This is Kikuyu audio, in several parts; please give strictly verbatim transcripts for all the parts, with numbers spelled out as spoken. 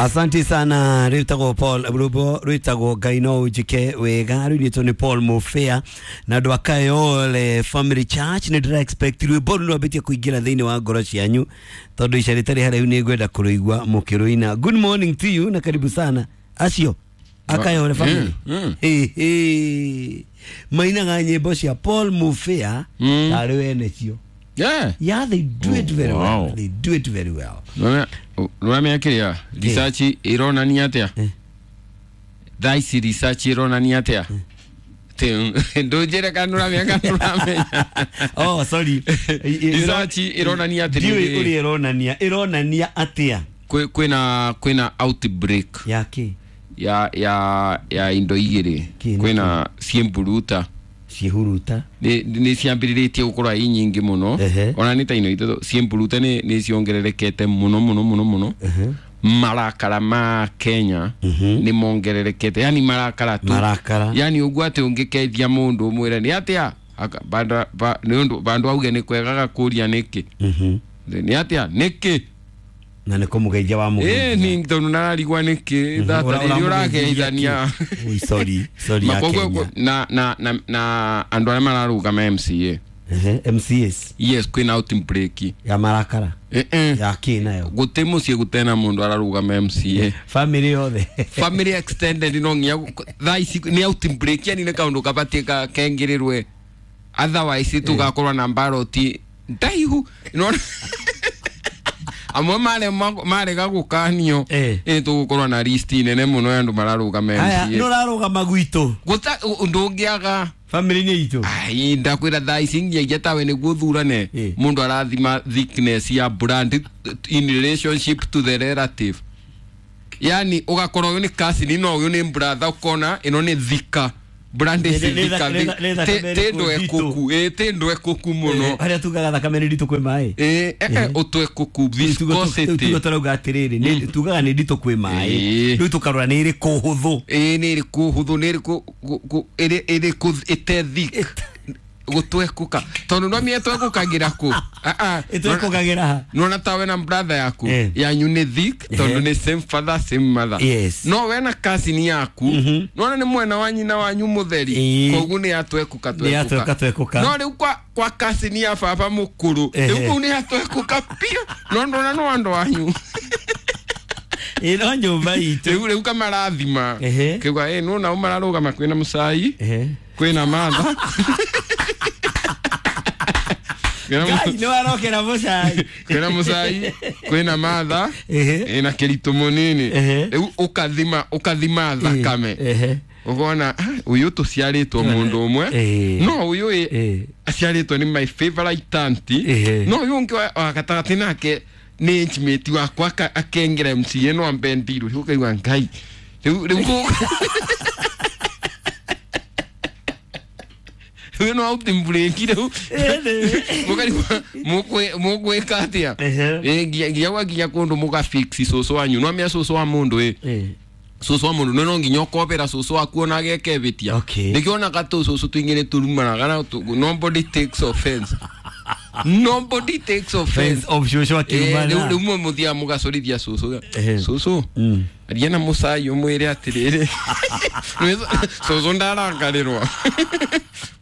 Asante sana rwitagwo Paul rwimbo rwitagwo Ngai no unjike wega rwinitwo ni Paul Mufea na andu a Kayole Family Church. Nĩ ndĩra expect rwimbo rũu rwambĩtie kũingĩra thĩinĩ wa ngoro cianyu tondũ ica rĩtarĩ haraihu nĩ ngwenda kũrũigua mũkĩrũina. Good morning to you na karibu sana acio a Kayole Family. Mm, mm. Hey, hey. Mainaga nyĩmbo cia Paul Mufea Mm. tarĩ wene cio. Yeah. Yeah, they do it very Oh, wow. well. They do it very well. Nũramenya kĩrĩa research ĩronania atĩa? Eh. Thaa ici research ĩronania atĩa? Ndũnjĩre kana nũramenya kana nũramenya. Oh, sorry. Research ĩronania Ndiũĩ atĩrĩrĩ, ũrĩa ĩronania. Ĩronania atĩa? kwĩ- kwĩna kwĩna outbreak Ya kĩ? ya ya ya indo igĩrĩ. Kĩ nĩ Kwĩna ciĩmburuta Ciĩhuruta. nĩ nĩ ciambĩrĩrĩtie gũkorwo i nyingĩ mũno. Ehe. Ona nĩ ta ino ithatũ ciĩmburuta nĩ nĩ ciongererekete mũno mũno mũno mũno. Ehe. Marakara ma Kenya Mhm. nĩ mongererekete, yani marakara tu. Marakara. Yani ũguo atĩ ũngĩkeithia mũndũ ũmwĩre nĩ atĩa Aka- banda- ba- nĩ ũndũ bandũ auge nĩ kwega gakũria nĩkĩ. Mhm. Nĩ atĩa nĩkĩ. Na nĩ kũmũgeithia wa ĩ mũgeithia. nĩ tondũ nararigwa nĩkĩ thata rĩrĩa ũrageithania. Ui, sorry. Sorry ya Ma- koguo- Kenya. na na na na andũ arĩa mararũgama M C A. Ehe, M C As. Yes, kwĩna outbreak Ya marakara. Eh, eh. Ya kĩ nayo? Gũtĩ mũciĩ gũtena mũndũ ararũgama M C A. Family yothe. Family extended no nginya gu- thaa ici nĩ outbreak, yani nĩ kaũndũ kabatiĩ ka- kengĩrĩrwe, otherwise tũgakorwo na mbaroti ndaihu. Nĩwona? Amwe mare- marega gũkanio. Eh. Ĩ tũgũkorwo na list nene mũno ya andũ mararũgama Haya, M C A. nĩ ũrarũgama gwitũ. Gũta ndũngĩaga. Family-inĩ itũ. Ai, ndakwĩra thaa ici nginyagia tawe nĩguo ũthurane. Eh. Mũndũ arathima thickness ya brand in relationship to the relative, yani ũgakorwo ũyũ nĩ cousin no ũyũ nĩ brother, ũkona ĩno nĩ thika brand Nĩ- ici nĩ- nĩ thika thaka- nĩ thakame tĩ ĩrĩkũ ndwekũku ĩ tĩ ndwekũku mũno. Harĩa tugaga thakame nĩ nditũ kwĩ maĩ. Ĩ, eh, eh, ũtwekũku viscosity. Tuga tũrauga atĩrĩrĩ, nĩ- tugaga nĩ nditũ kwĩ maĩ. Ĩĩ. Rĩu tũkarora nĩ ĩrĩkũ hũthũ. Ĩ nĩ ĩrĩkũ hũthũ, nĩ ĩrĩkũ gu- gu- ĩrĩ- ĩrĩkũ ĩte thick gũtwekũka tondũ no mĩe twekũkagĩra kũ. Ah, ah. Ĩtwekũkagĩra ha? Nona ta wena brother yaku Eh. yanyu nĩ thick tondũ Eh. nĩ same father same mother. Yes. No wena cousin yaku nona nĩ mwena wa nyina wanyu mũtheri. Ĩĩ. Koguo nĩ yatwekũka. Nĩ yatweka twekũka. No rĩu kwa kwa cousin ya baba mũkũrũ Ehe. rĩu kũu nĩ yatwekũka biũ no ndona no andũ anyu. Ĩ no nyũmba itũ. Rĩu rĩu kamarathima Ehe. kiuga ĩ nona o mararũgama kwĩna mũcai Ehe. kwĩna matha. Kwĩna Ngai nĩ warokera mũcai. Kwĩna mũcai kwĩna matha Ehe. ĩna kĩritũ mũnini. Ehe. Rĩu ũkathima ũkathima thakame. Ehe. Ũkona ah, ũyũ tũciarĩtwo mũndũ ũmwe. Ĩĩ. No ũyũ ĩ Ĩĩ. aciarĩtwo nĩ my favorite auntie. Ehe. No ũyũ ũngĩ wa- wa gatagatĩ nake nĩ age mate wakwa aka- akengera M C A no ambe ndirũ. Rĩu ũkaigua Ngai rĩu rĩu kũ- rĩu no outbreak rĩu mũkarigwo mũkwĩ- mũkwĩka atĩa. Ehe. Ĩ, nginya nginya gwakinya kũndũ mũgafix cũcũ wanyu no amenya cũcũ wa mũndũ ĩ Ĩĩ. cũcũ wa mũndũ no nginya ũkobera cũcũ waku ona ageke bĩtia. Okay. Nĩkĩo onaga tũcũcũ tũingĩ nĩ tũrumanaga na tũ- nobody takes offense, nobody takes offense. Friends of cũcũ Eh, akĩrumana. rĩu rĩu mwe mũthiaga mũgacorithia cũcũ. Ehe. Cũcũ Mm. aria na mũcai ũmwĩre atĩrĩrĩ. Cũcũ ndarakarĩrwa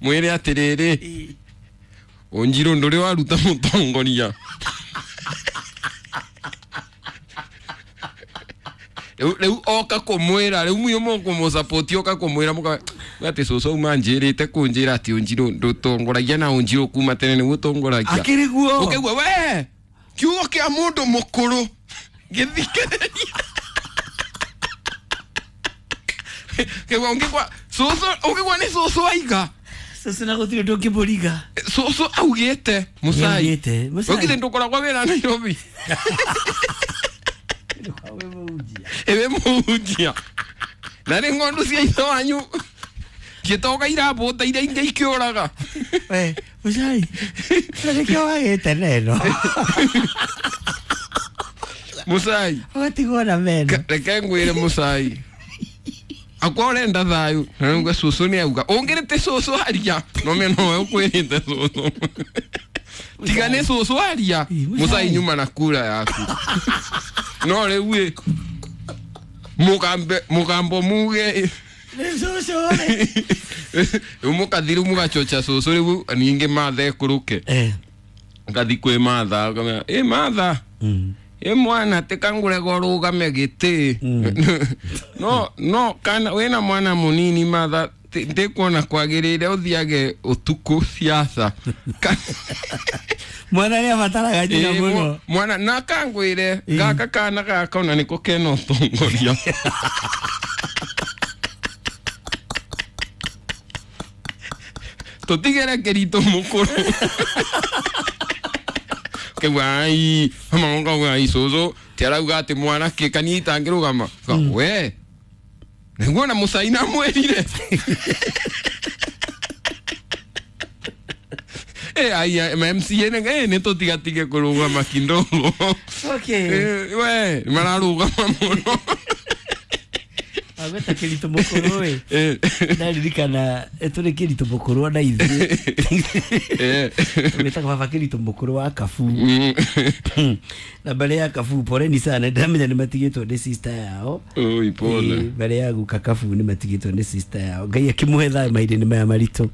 mwĩre atĩrĩrĩ ũnjirũ ndũrĩ waruta mũtongoria. Rĩu rĩu oka kũmwĩra rĩu mũyo mũkũmũsapoti oka kũmwĩra mũka atĩ cũcũ auma njĩrĩte kũnjĩra atĩ ũnjirũ ndũtongoragia na ũnjirũ kuma tene nĩguo ũtongoragia. Akĩrĩ guo. Ũkaigua we kiugo kĩa mũndũ mũkũrũ gĩthikĩrĩria kĩgua ũngĩgua cũcũ ũngĩgua nĩ cũcũ aiga. Cũcũ na gũtirĩ ũndũ ũngĩmũriga. Cũcũ augĩte mũcai. Nĩaugĩte, mũcai. Ũgithĩ ndũkoragwo wĩra Nairobi ĩwĩ mũhunjia na nĩ ng'ondu cia ithe wanyu ngĩtoga irambũta iria ingĩ ikĩũraga. We, mũcai. Na nĩkĩo wagĩte neno. Mũcai. Ũgatigwo na meno. Ka- reke ngwĩre mũcai akwa ũrenda thayũ na nĩuga cũcũ nĩ auga ũngĩrĩte cũcũ aria no mena nowe ũkwĩrĩte cũcũ tiga nĩ cũcũ aria. Ĩ, mũcai. Mũcai nyuma na kura yaku no rĩu ĩ Mugambe mugambo muge riu mukathiru mugachocha cucu riu ningi matha ekuruke eh ngathi kwi matha ngamera ĩ matha mm. ĩ mwana tikangurega ũrũgame gĩtĩ no no kana wĩna mwana mũnini matha ti- ndikuona kwagĩrĩire ũthiage ũtukũ siasa Ka- mwana nĩ abataraga nyina Ĩ, mũno mwa- mwana na kangwĩre gaka kana gaka ona nĩko kena ũtongoria tũtigere kĩritũ mũkũrũ kĩgua ai mama ngauga ai cũcũ ti arauga atĩ mwana kĩ kani itangĩrũgama Ka, we nĩguo na mũcaina mwĩrire Eh, ai, ai, ma M C A nĩ eh, nĩ tũtigatige kũrũgama kidogo okay Eh, we mararũgama mũno agweta kĩritũ mũkũrũ ĩ Eh, ndaririkana tũrĩ kĩritũ mũkũrũ ona ithuĩ eh. wĩtaga baba kĩritũ mũkũrũ wa kabu Mm. na mbere ya kabu poleni sana ndamenya nĩ matigĩtwo nĩ sister yao Oi, pole. Ĩ, mbere ya guka kabu nĩ matigĩtwo nĩ sister yao ngai akĩmũhe thayũ mahinda-inĩ maya maritũ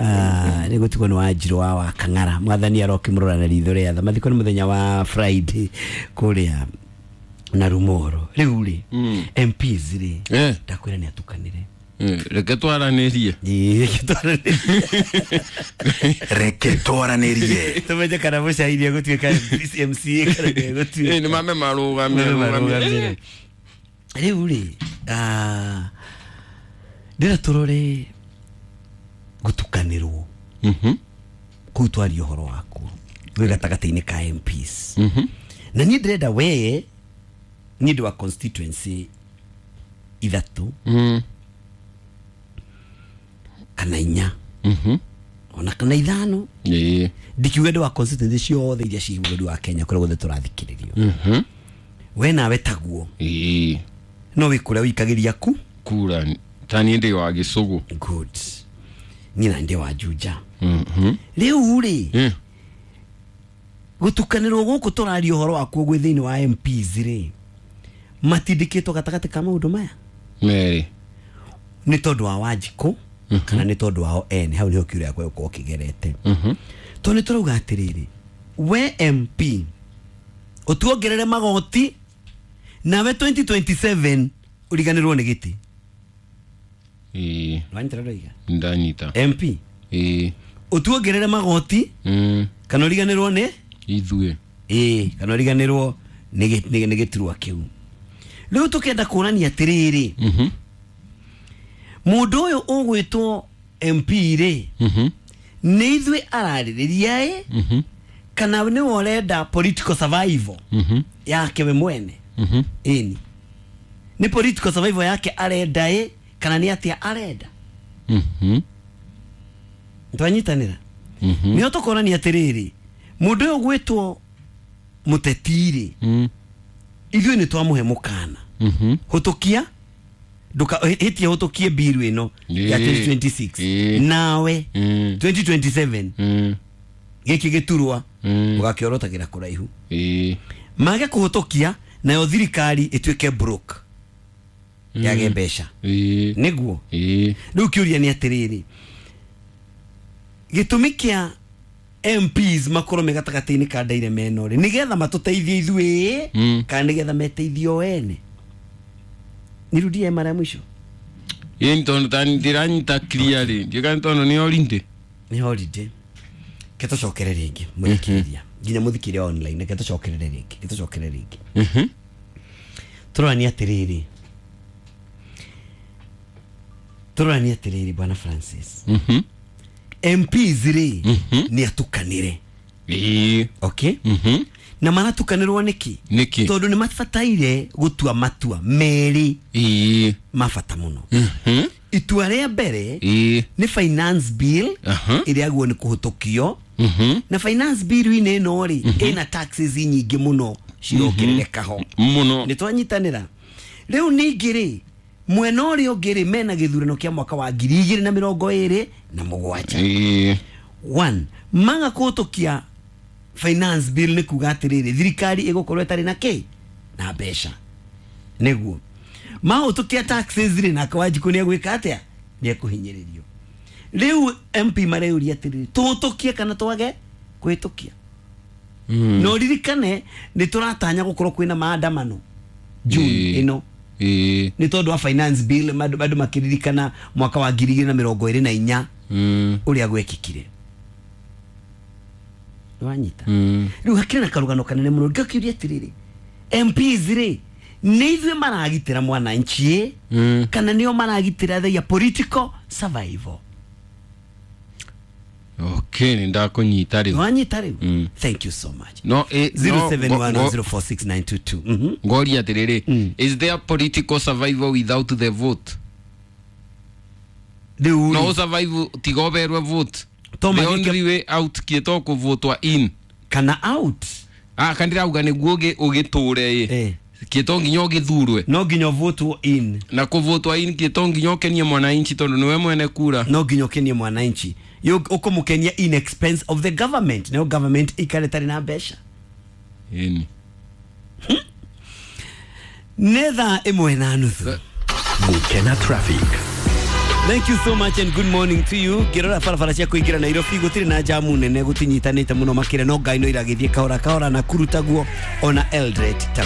Ah, nĩ gũtigwo nĩ wanjirũ wa wa kang'ara mwathani arokĩmũrora na ritho rĩa tha mathiko nĩ mũthenya wa Friday kũrĩa na rumoro rĩu rĩ Mm. M Ps rĩ Eh, ndakwĩra nĩ atukanĩre eh, reke twaranĩrie Ĩ, reke twaranĩrie. Reke twaranĩrie. Tũmenye kana mũcairi egũtuĩka M C A kana ndegũtuĩka. Eh, nĩ mame marũgame Mame rũgame. marũgamĩre. Rĩu rĩ ah, ndĩra tũrore gũtukanĩrwo Mhm, kũu twaria ũhoro wakuo wĩ gatagatĩ-inĩ ka M Ps mhm. na niĩ ndĩrenda wee niĩ ndĩ wa constituency ithatũ Mm, kana inya mhm. ona kana ithano Ĩ, ndikiuga ndĩ wa constituency ciothe iria ciĩ bũrũri wa Kenya kũrĩa guothe tũrathikĩrĩrio mhm. we nawe taguo Ĩ, no wĩ kũrĩa wĩikagĩria ku kura ta niĩ ndĩ wa gĩcũgũ good niĩ na ndĩ wa Juja Mhm. rĩu rĩ Eh, gũtukanĩrwo gũkũ tũraria ũhoro wakuo gwĩ thĩinĩ wa M Ps rĩ matindĩkĩtwo gatagatĩ ka maũndũ maya merĩ nĩ tondũ wa Wanjikũ kana nĩ tondũ wao ene hau nĩho kiũria gĩakwa gĩgũkorwo kĩgerete Mhm. tondũ nĩ tũrauga atĩrĩrĩ we M P ũtuongerere magoti nawe twenty twenty-seven ũriganĩrwo nĩ gĩtĩ Ĩ, nĩwanyita ndoiga ndanyita M P Ĩ, ũtuongerere magoti mm, kana ũriganĩrwo nĩ ithuĩ ĩĩ kana ũriganĩrwo nĩ gĩ- nĩ nĩ gĩturwa kĩu rĩu tũkenda kũrania atĩrĩrĩ Mhm, mũndũ ũyũ ũgwĩtwo M P rĩ mhm, nĩ ithuĩ ararĩrĩria ĩ mhm, kana nĩwe ũrenda political survival mhm, yake we mwene mhm. ĩni nĩ political survival yake arenda ĩ kana nĩ atĩa arenda Mhm, twanyitanĩra mhm. nĩho tũkonania atĩrĩrĩ mũndũ ũyũ ũgwĩtwo mũteti rĩ Mm, ithuĩ nĩ twamũhe mũkana mhm. hũtũkia nduka hĩtie hũtũkie mbiru ĩno ya Ĩĩ. twenty twenty-six Ĩĩ. nawe Mm, twenty twenty-seven mm, gĩkĩ gĩturwa mm. ũgakĩorotagĩra kũraihu Ĩ, mage kũhũtũkia nayo thirikari ĩtuĩke broke yage mbeca ĩ, nĩguo ĩ. rĩu kĩũria nĩ atĩrĩrĩ gĩtũmi kĩa M Ps makorwo me gatagatĩ-inĩ ka ndaire meno rĩ nĩgetha matũteithie ithuĩ Mm. kana nĩgetha meteithie o ene nirudie mara ya mwisho Ĩ, nĩ tondũ ta ndiranyita clearly ndiũĩ nĩ tondũ nĩ holiday nĩ holiday ke tũcokere rĩngĩ mũthikĩrĩria nginya mũthikĩrĩria online reke tũcokerere rĩngĩ ke tũcokerere rĩngĩ Mhm, tũroranie atĩrĩrĩ tũroranie atĩrĩrĩ bwana Francis mhm. M Ps rĩ Mhm. nĩ atukanĩre Ĩ, okay mhm. na maratukanĩrwo nĩkĩ Nĩkĩ? tondũ nĩ mabataire gũtua matua merĩ Ĩ, ma bata mũno mhm. itua rĩa mbere Ĩ, nĩ finance bill Aha. ĩrĩa guo nĩ kũhũtũkio mhm. na finance bill-inĩ ĩno rĩ ĩna taxes nyingĩ mũno cirongerereka ho mũno nĩ twanyitanĩra rĩu ningĩ rĩ mwena ũrĩa ũngĩ rĩ mena gĩthurano kĩa mwaka wa ngiri igĩrĩ na mĩrongo ĩrĩ na mũgwanja Ĩ, one maga kũhũtũkia finance bill nĩ kuga atĩrĩrĩ thirikari ĩgũkorwo ĩtarĩ na kĩ na mbeca nĩguo Mahũtũkia taxes rĩ, nake Wanjikũ nĩ egwĩka atĩa? Nĩ ekũhinyĩrĩrio. Rĩu M P mareuria atĩrĩrĩ, tũhũtũkie kana twage kũhĩtũkia? Mm. Na ũririkane nĩ tũratanya gũkorwo kwĩna maandamano June Ĩĩ. ĩno Ĩĩ. nĩ tondũ wa finance bill. Andũ andũ makĩririkana mwaka wa ngiri igĩrĩ na mĩrongo ĩrĩ na inya Mm. ũrĩa gwekĩkire. Nĩwanyita? Mm. Rĩu hakĩrĩ na karũgano kanene mũno. Ngakĩũria atĩrĩrĩ, M Ps rĩ, nĩ ithuĩ maragitĩra mwananchi ĩ Mm. kana nĩo maragitĩra their political survival? Okay, nĩ ndakũnyita rĩu. Nĩwanyita rĩu? Mm. Thank you so much. No, eh, no, ngo- ngo- zero seven one zero four six nine two two. Mhm. Ngoria atĩrĩrĩ, Mm. is there political survival without the vote? Rĩu No rĩ, survive tiga ũberwe vote. To The magĩke- only way out kĩto kũvotwa in. Kana out. Ah, kandĩrauga nĩguo ũgĩ- ũgĩtũre ĩ Eh. kĩto nginya ũgĩthurwe. No nginya ũvotwo in. Na kũvotwa in kĩto nginya ũkenie mwananchi tondũ nĩwe mwene kura. No nginya ũkenie mwananchi. Yũ- ũkũmũkenia in expense of the government, nayo government ikare tarĩ na mbeca. Ĩni. Nĩ thaa ĩmwe na nuthu. Gukena traffic. Thank you so much and good morning to you. Ngĩrora barabara cia kũingĩra Nairobi, gũtirĩ na jamu nene, gũtinyitanĩte mũno makĩria, no ngai no iragĩthiĩ kahora kahora na kurutaguo ona Eldoret taguo.